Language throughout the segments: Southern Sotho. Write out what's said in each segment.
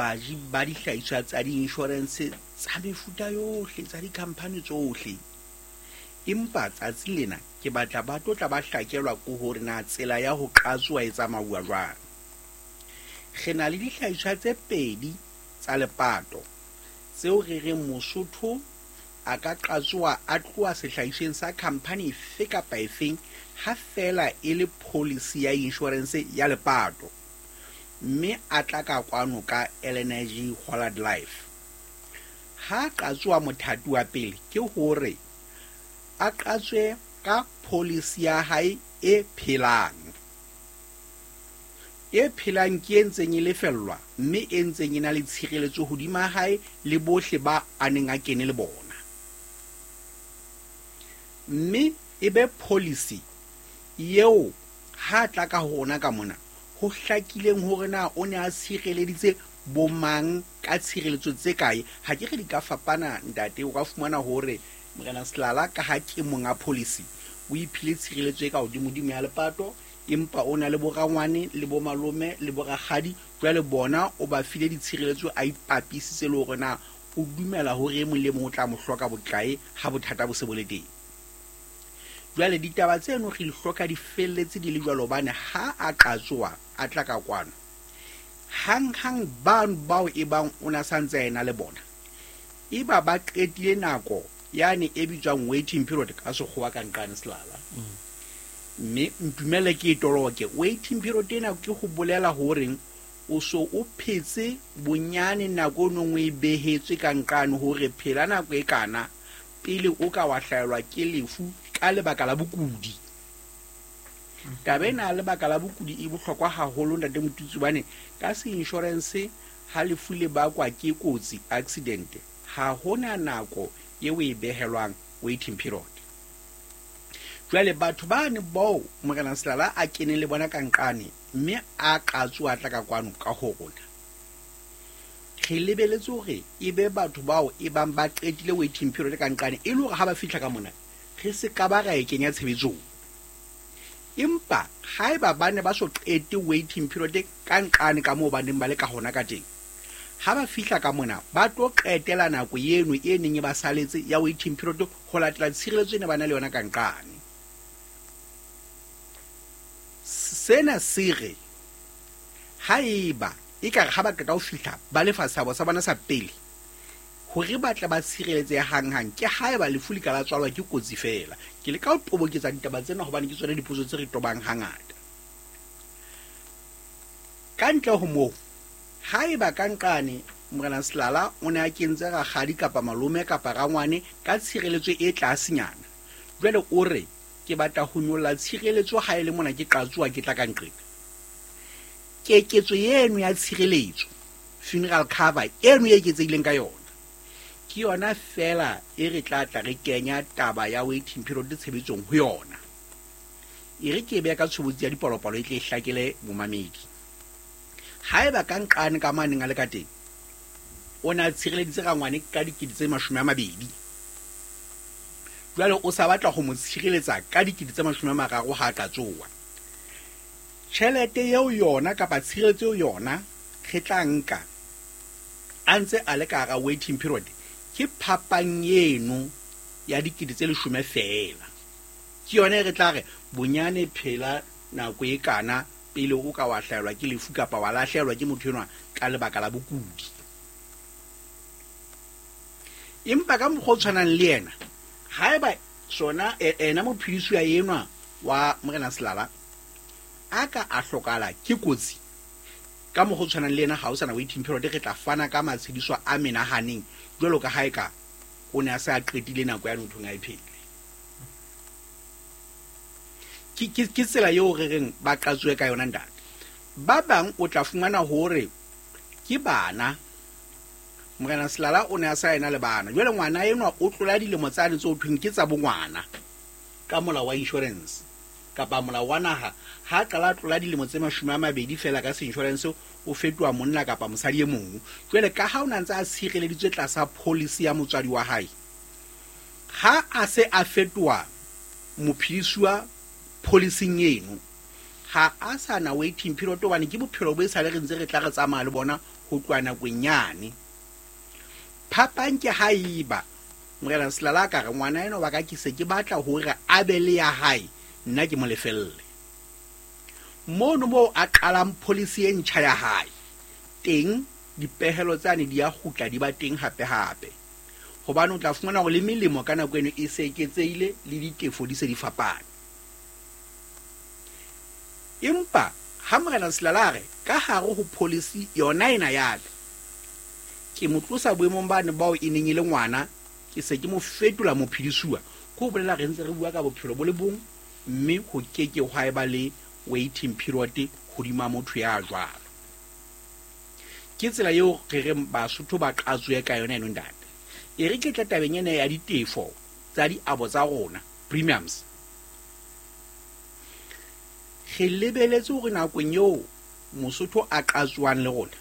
Baji ba dihlahiswa tsa di-insurance tsa mefuta yohle, tsa di-company tsohle. Empa tsatsi lena ke batla ba tlo tla ba hlakelwa ke hore na tsela ya ho qatsoa e tsamauwa jwang. Re na le dihlahiswa tse pedi tsa lepato tseo re reng Mosotho a ka qatsoa a tloha sehlahisweng sa khampani efe kapa efeng ha feela e le policy ya insurance ya lepato, mme a tla ka kwano ka LNG Hollard Life. Ha a qatsoa mothati wa pele ke hore a qatswe ka policy ya hae e phelang. E phelang ke e ntseng e lefellwa mme e ntseng e na le tshireletso hodima hae le bohle ba a neng a kene le bona. Mme e be policy eo ha a tla ka ho rona ka mona ho hlakileng hore na o ne a tshireleditse bomang ka tshireletso tse kae. Ha ke re di ka fapana ntate, o ka fumana hore Morena Selala ka ha ke monga policy o iphile tshireletso e ka hodimodimo ya lepato, empa o na le borangwane le bomalome le borakgadi, jwale bona o ba file ditshireletso a ipapisitse le hore na o dumela hore e mong le mong o tla mo hloka bokae ha bothata bo se bo le teng. Jwale ditaba tseno re di hloka di felletse di le jwalo hobane ha a qatsoa a tla ka kwano, hanghang bano bao e bang o na sa ntse a ena le bona, eba ba qetile nako yane e bitswang waiting period ka sekgowa ka nqane Selala. Mme ntumelle ke e toloke. Waiting period ena ke ho bolela hore o so o phetse bonyane nako o neng o e behetswe ka nqane hore phela nako e kana pele o ka wa hlahelwa ke lefu ka lebaka la bokudi. Taba ena ya lebaka la bokudi e bohlokwa haholo ntate Motutsi, hobane ka se insurance ha lefu le bakwa ke kotsi, accident, ha hona nako eo e behelwang waiting period. Jwale batho bane bao Morena Selala a keneng le bona ka nqane mme a qatsoa tla ka kwano ka ho rona, re lebeletse hore e be batho bao e bang ba qetile waiting period ka nqane, e le hore ha ba fihla ka mona re se ka ba ra e kenya tshebetsong. Empa haeba ba ne ba so qete waiting period ka nqane ka moo ba neng ba le ka hona ka teng, ha ba fihla ka mona ba tlo qetela nako eno e neng e ba saletse ya waiting period ho latela tshireletso e ne ba na le yona ka nqane. Sena se re haeba ekare ha ba qeta ho fihla ba lefa seabo sa bona sa pele hore ba tle ba tshireletsehe hanghang, ke haeba lefu le ka la tswalwa ke kotsi feela. Ke leka ho toboketsa ditaba tsena hobane ke tsona dipotso tse re tobang hangata. Ka ntle ho moo, haeba ka nqane Morena Selala o ne a kentse rakgadi kapa malome kapa rangwane ka tshireletso e tlasenyana, jwale o re ke batla ho nyolla tshireletso ha e le mona ke qatsoa ke tla ka nqena. Keketso eno ya tshireletso, funeral cover eno e eketsehileng ka yona, ke yona feela e re tla tla re kenya taba ya waiting period tshebetsong ho yona. E re ke e beha ka tshobotsi ya dipalopalo e tle e hlakele momamedi. Haeba ka nqane ka maneng a le ka teng, o ne a tshireleditse rangwane ka dikete tse 20, jwale o sa batla ho mo tshireletsa ka dikete tse 30 ha a ka tsoa. Tjhelete eo yona kapa tshireletso eo yona re tla nka a ntse a le ka hara waiting period ke phapang eno ya dikete tse 10 feela. Ke yona e re tla re bonyane phela nako e kana pele o ka wa hlahelwa ke lefu kapa wa lahlehelwa ke motho enwa ka lebaka la bokudi. Empa ka mokgwa o tshwanang le yena, haeba sona ena mophedisuwa enwa wa Morena Selala a ka a hlokahala ke kotsi, ka mokgwa o tshwanang le yena ha o sana waiting period, re tla fana ka matshediso a menahaneng jwalo ka ha eka o ne a se a qetile nako ya nthong a e phele. Ke tsela eo re reng ba qatsoe ka yona ntate. Ba bang o tla fumana hore ke bana. Morena Selala o ne a sa ena le bana. Jwale ngwana enwa o tlola dilemo tsane tse ho thweng ke tsa bongwana ka molao wa insurance kapa molao wa naha. Ha qala tlola dilemo tse 20 feela ka se-insurance, o fetoha monna kapa mosadi e mong. Jwale ka ha o na ntse a tshireleditswe tlasa policy ya motswadi wa hae, ha a se a fetoha mophedisuwa policing eno, ha a sa na waiting period hobane ke bophelo bo e sale re ntse re tla re tsamaya le bona ho tloha nakong yane. Phapang ke haeba Morena Selala a ka re ngwana ena wa ka ke se ke batla hore a be le ya hae, nna ke mo lefelle. Mono moo a qalang policy e ntjha ya hae, teng dipehelo tsane di a kgutla di ba teng hape-hape. Hobane o tla fumana hore le melemo ka nako eno e se eketsehile le ditefo di se di fapane. Empa ha Morena Selala a re ka hare ho policy yona ena ya ka, ke mo tlosa boemong bane bao e neng e le ngwana, ke se ke mo fetola mophedisuwa, ke ho bolela re ntse re bua ka bophelo bo le bong, mme ho keke hwa eba le waiting period hodima motho ya jwalo. Ke tsela eo re reng Basotho ba qatsoe ka yona eno ntate. E re ke tle tabeng ena ya ditefo tsa diabo tsa rona, premiums. Re lebeletse hore nakong eo Mosotho a qatsoang le rona,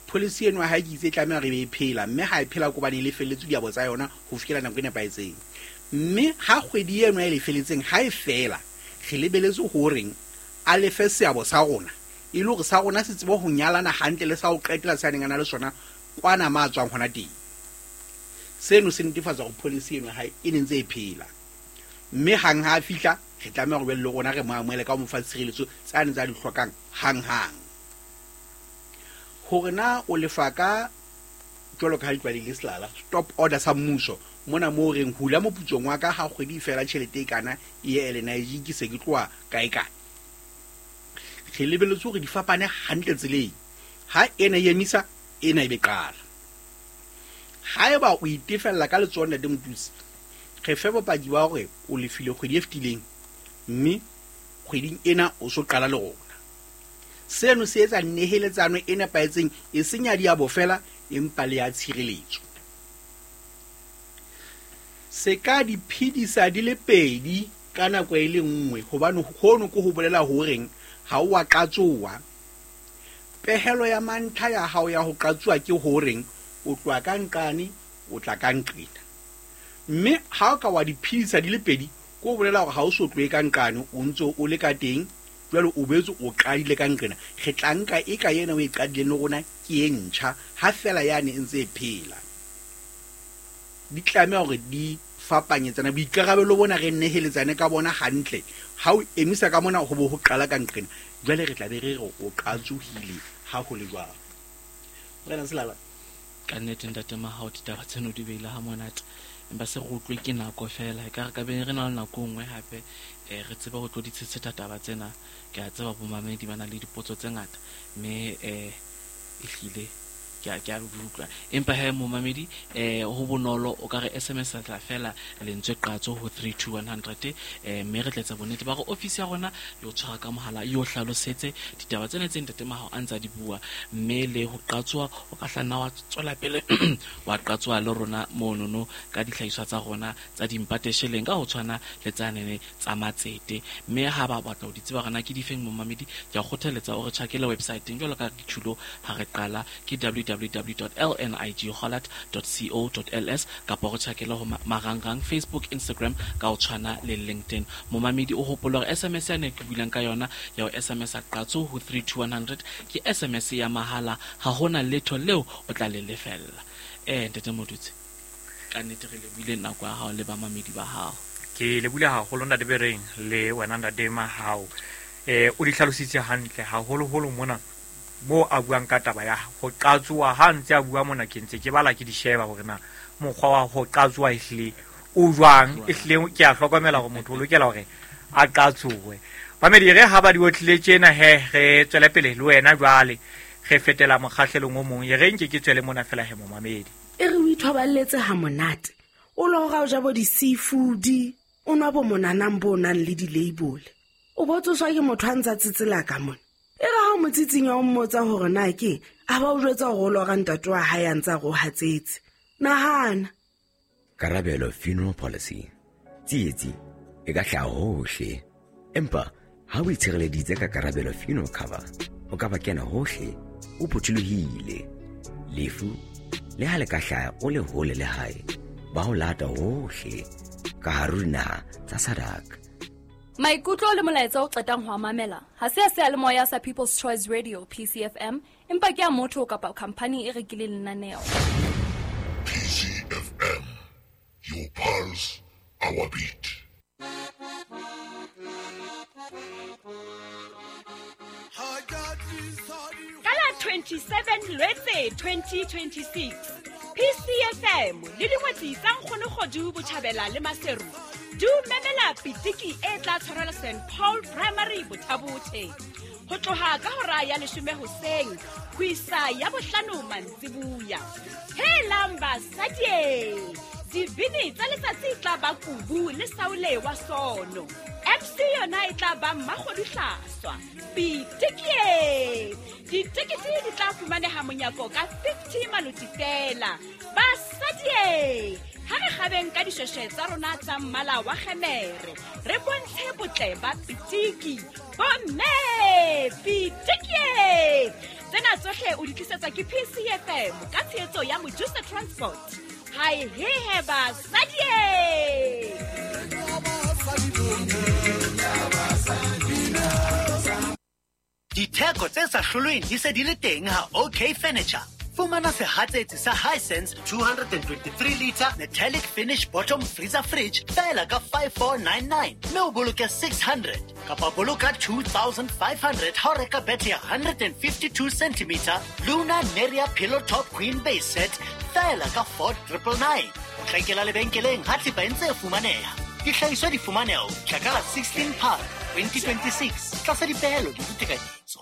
policy eno ya hae ke itse e tlameha hore e be e phela, mme ha e phela ke hobane e lefelletswe diabo tsa yona ho fihlela nako e nepahetseng. Mme ha kgwedi eno e lefeletseng ha e fela, re lebeletse horeng a lefe seabo sa rona, e le hore sa rona se tsebe ho nyalana hantle le sa ho qetela se a neng a na le sona kwana ma tswang hona teng. Seno se netefatsa hore policy eno ya hae e ne ntse e phela. Mme hang ha a fihla, re tlameha hore jwale le rona re mo amohele ka ho mo fa tshireletso tsane tsa di hlokang hang-hang. Hore na o lefa ka jwalo ka ha di tlwaelehile Selala, stop order sa mmuso, mona moo reng hula moputsong wa ka ha kgwedi e fela tjhelete e kana e ye LNIG ke se ke tloha kae kae. Re lebelletse hore di fapane hantle tseleng. Ha ena e emisa, ena e be qala. Haeba o itefella ka letsoho ntate Motutsi, re fe bopaki ba hore o lefile kgwedi e fetileng, mme kgweding ena o so qala le rona. Seno se etsa neheletsano e nepahetseng, e seng ya diabo fela, empa le ya tshireletso. Se ka di phedisa di le pedi ka nako e le nngwe, hobane hono ke ho bolela horeng ha o a qatsoa. Pehelo ya mantlha ya hao ya ho qatsoa ke horeng o tloha ka nqane o tla ka nqena. Mme ha o ka wa di phedisa di le pedi, ke ho bolela hore ha o so tlohe ka nqane, o ntse o le ka teng, jwale o boetse o qadile ka nqena. Re tla nka e ka ena o e qadileng le rona ke e ntjha, ha fela yane e ntse e phela. Di tlameha hore di fapanyetsana, boikarabelo bona re neheletsane ka bona hantle. Ha o emisa ka mona ho bo ho qala ka nqena, jwale re tla be re re o qatsohile ha ho le jwalo. Morena Selala. Ka nnete ntate Mahao, ditaba tseno di beile ha monate, empa se re utlwe ke nako fela. E ka re ka be re na le nako e nngwe hape, re tsebe ho tlo di tshetsheta taba tsena. Ke a tseba bomamedi ba na le dipotso tse ngata, mme ehlile ke a utlwa. Empa he momamedi, ho bonolo, o ka re SMS tla fela lentswe qatso ho 32100, mme re tla etsa bonnete ba hore ofisi ya rona e o tshwara ka mohala, e o hlalosetse ditaba tsena tse ntate Mahao a ntsa di bua, mme le ho qatsoa o ka hla nna wa tswela pele wa qatsoa le rona monono ka dihlahiswa tsa rona tsa dimpatesheleng ka ho tshwana le tsa nene tsa matsete. Mme ha ba batla ho di tseba hore na ke difeng momamedi, ke a kgothaletsa o re tjhakele websiteng jwalo ka re tjhulo ha re qala, ke www.lnighollard.co.ls, kapa re tjhakele ho marangrang Facebook, Instagram ka ho tshwana le LinkedIn. Momamedi o hopole hore SMS ya ne ke builang ka yona ya ho SMS a qatso ho 32100 ke SMS ya mahala, ha hona letho leo o tla le lefella. Ntate Modutse, ka nnete re lebohile nako ya hao le bamamedi ba hao. Ke lebohile haholo ntate Bereng le wena ntate Mahao. O di hlalositse hantle haholoholo mona mo a buang ka taba ya ho qatsoa. Ha ntse a bua mona ke ntse ke bala ke di sheba hore na mokgwa wa ho qatsoa ehlile o jwang. Ehlile ke a hlokomela hore motho o lokela hore a qatsoe. Bamedi re ha ba di otlile tjena he re tswele pele le wena jwale re fetela mokgahlelong o mong. E re nke ke tswele mona fela he momamedi. E re o ithoballetse ha monate, o lora o ja bo di-seafood, o nwa bo monanang bo nang le di-label, o bo tsoswa ke motho a ntsa tsetsela ka mona. E re ha o mo tsitsinya o mmotsa hore na ke a ba o jwetsa hore o lora ntate wa hae a ntsa re o hatsetse. Nahana. Karabelo Funeral Policy. Tsietsi e ka hlaha hohle, empa ha o itshireleditse ka Karabelo Funeral Cover, o ka ba kena hohle o phuthulohile. Lefu le ha le ka hlaha o le hole le hae, ba ho lata hohle ka hare ho dinaha tsa SADC. Maikutlo le molaetsa o qetang ho a mamela ha se a seyalemoya sa People's Choice Radio PCFM, empa ke a motho kapa khampani e rekileng lenaneo. PCFM, your pulse, our beat. Ka la 27 Lwetse 2026, PCFM le dingwetsi tsa Nkgonokgodu Botjhabela le Maseru di o memela pitiki e tla tshwarelwa St Paul Primary Bothabothe ho tloha ka hora ya 10 hoseng ho isa ya 5 mantsibuya. Helang basadi, dibini tsa letsatsi e tla ba Kubu le Saule wa Sono. MC yona e tla ba Mmakgodu Hlaswa. Pitiki! Ditekete di tla fumaneha monyako ka 50 maloti fela. Basadi, ha re kgabeng ka dishweshwe tsa rona tsa mmala wa kgemere, re bontshe botle ba pitiki. Bomme, pitiki! Tsena tsohle o di tlisetswa ke PCFM ka tshehetso ya Mojusa Transport. Hai hehe basadi! Ditheko tse sa hlolweng di se di le teng ha OK Furniture. Fumana sehatsetsi sa Hisense 223 liter metallic finish bottom freezer fridge fela ka 5499 mme o boloke 600 kapa boloka 2500 ha o reka bethe ya 152 cm Luna Neria pillow top queen base set fela ka 4999. O tla ikela lebenkeleng ha thepa e ntse e fumaneha. Dihlahiswa di fumaneha ho fihla ka la 16 Phato 2026 tlasa dipehelo le ditekanyetso.